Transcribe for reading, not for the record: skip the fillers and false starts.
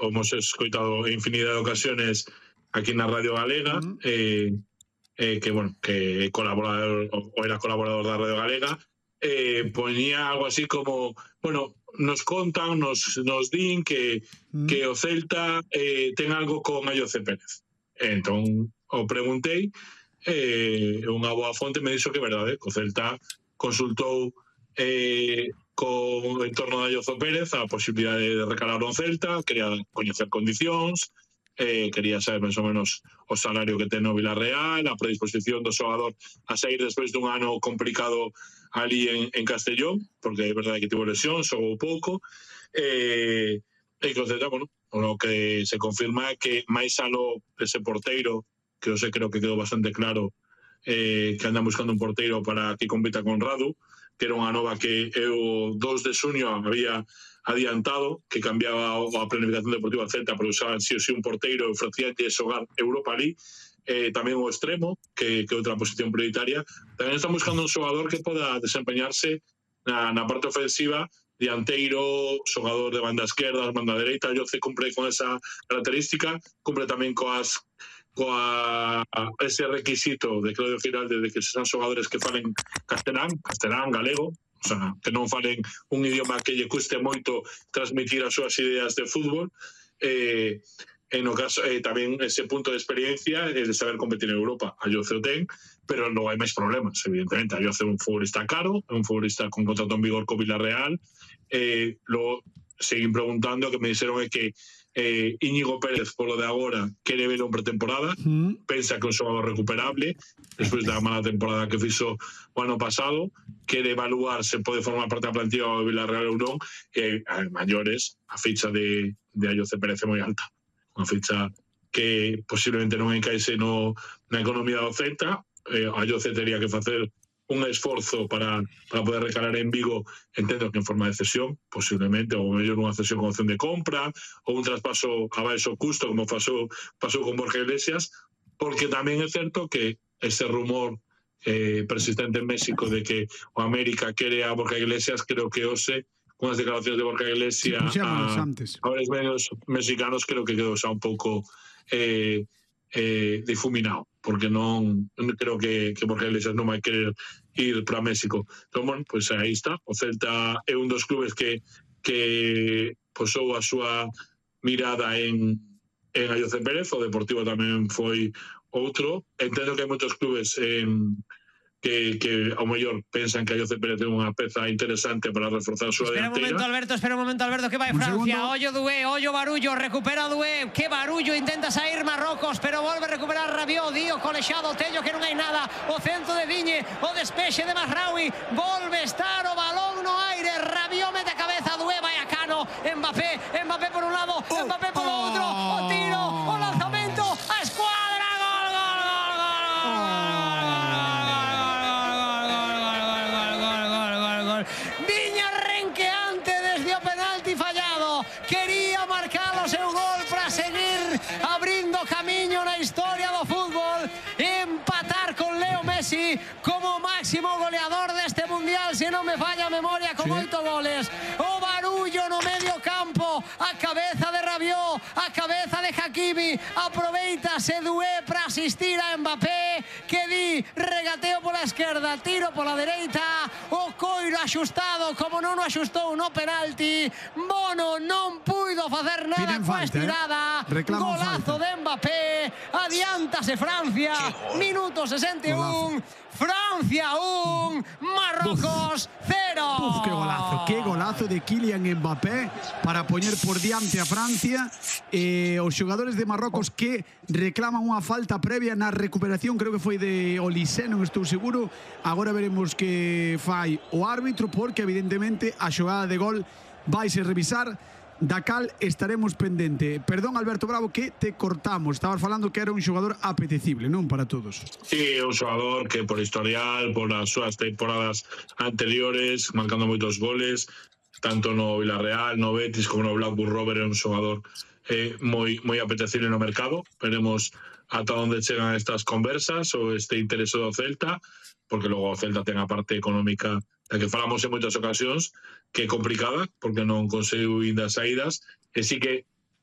hemos escoitado infinidad de ocasiones aquí na Radio Galega, que, bueno, que colaborador, o era colaborador da Radio Galega, ponía algo así como, bueno, nos contan, nos din que o Celta ten algo con Ayoce Pérez. Entón, o preguntei, unha boa fonte me dixo que é verdade, que o Celta consultou en torno de Ayoce Pérez a posibilidade de recalar un Celta, quería coñecer condicións, quería saber máis ou menos o salario que ten no Villarreal, a predisposición do xogador a sair despois dun ano complicado ali en Castellón, porque é verdade que tivo lesión, xogou pouco, e que o Celta, bueno, o que se confirma é que máis aló ese porteiro, que eu sei, creo que quedou bastante claro, que andan buscando un porteiro para que compita con Radu, que era unha nova que o 2 de xuño había adiantado, que cambiaba a planificación deportiva del Celta, pero usaban sí o sí un porteiro, ofrecía de xogar Europa League, tamén o extremo, que é outra posición prioritaria. Tamén están buscando un xogador que poda desempeñarse na parte ofensiva, dianteiro, xogador de banda esquerda, banda dereita. Ayoce cumpre con esa característica, cumpre tamén ese requisito de Claudio Giralde de que sean xogadores que falen castelán, galego, o sea, que non falen un idioma que lle cueste moito transmitir as súas ideas de fútbol, no caso tamén ese punto de experiencia de saber competir en Europa. Ayoce o ten, pero non hai máis problemas, evidentemente. Ayoce é un futbolista caro, é un futbolista con contrato en vigor co Villarreal. Logo seguín preguntando, que me dixeron é que Íñigo Pérez, polo de agora, quere ver en pretemporada, pensa que é un xogador recuperable despois da mala temporada que fixo o ano pasado, quere evaluar se pode formar parte da plantilla do Villarreal ou non, e a maiores a ficha de Ayoce Pérez é moi alta, unha ficha que posiblemente non encaixe na economía do Celta. Ayoce teria que facer un esforzo para poder recalar en Vigo, entendo que en forma de cesión, posiblemente, ou mellor unha cesión con opción de compra, ou un traspaso a baixo custo, como pasou con Borja Iglesias, porque tamén é certo que ese rumor persistente en México de que o América quere a Borja Iglesias, creo que hoxe, con as declaracións de Borja Iglesias a os medios mexicanos, creo que quedou xa un pouco difuminado, porque non creo que Borja Iglesias non vai querer ir para México. Entón, bueno, pois aí está. O Celta é un dos clubes que posou a súa mirada en Ayoce Pérez, o Deportivo tamén foi outro. Entendo que hai moitos clubes que ao mellor pensan que Ayoce Pérez é unha peza interesante para reforzar a súa dianteira. Espera un momento, Alberto, que vai Francia. Ollo Doué, ollo Barullo, recupera Doué. Que Barullo, intenta sair Marrocos, pero volve a recuperar Rabiot, Dío, colexado, Tello, que non hai nada. O centro de Diñe, o despexe de Mazraoui, volve estar o balón no aire. Rabiot mete a cabeza, Doué vai a Cano. Mbappé por un lado, Mbappé por outro. O tiro, o lanzamento, a escuadra. Quería marcar o seu gol para seguir abrindo camiño na historia do fútbol, empatar con Leo Messi como máximo goleador deste mundial, se non me falla a memoria, con 8 goles. O Barullo no medio campo, a cabeza de Rabiot, a cabeza de Hakimi, aproveitase Doué para asistir a Mbappé, que di regateo pola esquerda, tiro pola dereita, o coiro axustado como non o axustou no penalti. Bono non puido facer nada coa estirada. Golazo de Mbappé, adiántase Francia, minuto 61, Francia 1, Marrocos 0. Qué golazo de Kylian Mbappé para poñer por diante a Francia. Os xogadores de Marrocos que reclaman unha falta previa na recuperación, creo que foi de Olise, non estou seguro. Agora veremos que fai o árbitro, porque evidentemente a xogada de gol vaise revisar, da cal estaremos pendente. Perdón, Alberto Bravo, que te cortamos. Estabas falando que era un xogador apetecible, non para todos. Sí, un xogador que por historial, por as súas temporadas anteriores, marcando moitos goles, tanto no Villarreal, no Betis, como no Blackburn Rovers, é un xogador moi apetecible no mercado. Veremos ata onde chegan estas conversas ou este interese do Celta, porque logo o Celta ten a parte económica da que falamos en moitas ocasións, que é complicada, porque non conseguiu ainda saídas, e sí que